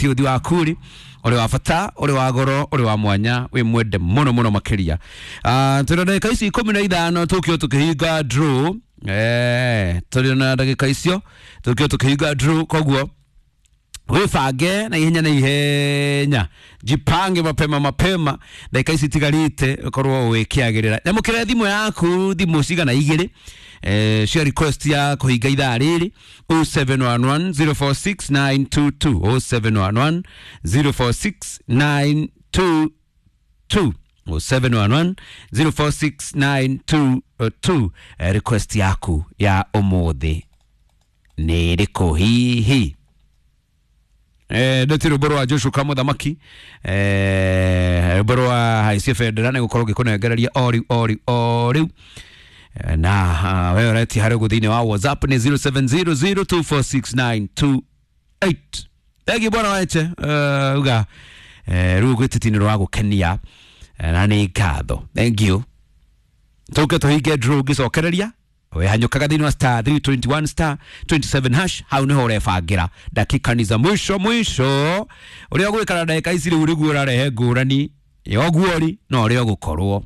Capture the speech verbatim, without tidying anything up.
Uthi waku ri uri wa bata, uri wa goro, uri wa mwanya, wi mwende muno muno makiria. Ah, turi na ndagika ici ikumi na ithano tukio tukihinga draw. Eh, turi na ndagika icio tukio tukihinga draw, koguo wibange na ihenya na ihenya, jipange mapema mapema, ndagika ici itigarite ukorwo wikiagirira. Nyamukire thimu yaku, thimu cigana igiri eh, cia request ya kuhinga ithaa riri, zero seven one one zero four six nine two two, zero seven one one zero four six nine two two, zero seven one one zero four six nine two two. Eh, request yaku ya umuthi nĩ ĩrĩkũ hihi? Eh, ndeti rwĩmbo rwa Joshua Kamũthamaki, eh, rwĩmbo rwa haicie bendera nĩ gũkorwo ngĩkũnengereria o rĩu o rĩu o rĩu. Eh, na uh, we ũretia harĩ ũguo thĩinĩ wa WhatsApp nĩ zero seven zero zero two four six nine two eight. Thengiũ bwana Weche, uh, uga eh, rĩu gwĩtĩti nĩ rwa gũkenia, eh, na nĩ ngatho, thank you. Tũke tũhinge draw ngĩcokereria wehanyũkaga thĩinĩ wa star three two one star twenty-seven hash, hau nĩho ũrebangĩra. Dakika ni za mwisho mwisho, ũrĩa ũgwĩkara ndagĩka ici rĩu nĩguo ũrarehe ngũrani ya ũguo ri na ũrĩa ũgũkorwo.